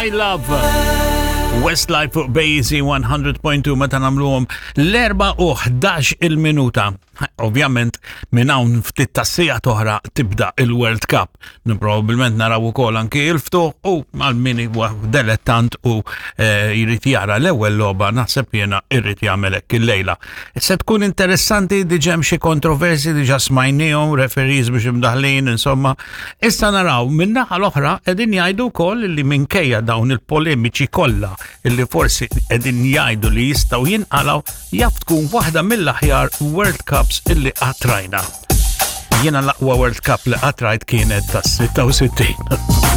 My Love. Westlife fuq Bazy 100.2 meta nagħmluhom l-4 u 11 il-minuta. Ovvjament minn hawn ftit tas-sija toħra tibda il-World Cup. Probabilment naraw ukoll anki il-ftuħ u għal min huwa delettant u eh, jrid jara l-ewwel logħba naħseb jiena irrid jagħmel hekk illejla. Se tkun interessanti diġà hemm xi kontroversi diġà smajnihom, referees biex imdaħlin, insomma. Issa naraw min-naħa l-oħra qegħdin jgħidu wkoll li minkejja dawn il-polemiċi kollha illi forsi qegħdin jgħidu li jistgħu jinqalgħu jaf tkun waħda mill-aħjar World Cups illi qatt rajna. Jiena l-aqwa World Cup li qatt rajt kienet tas-66.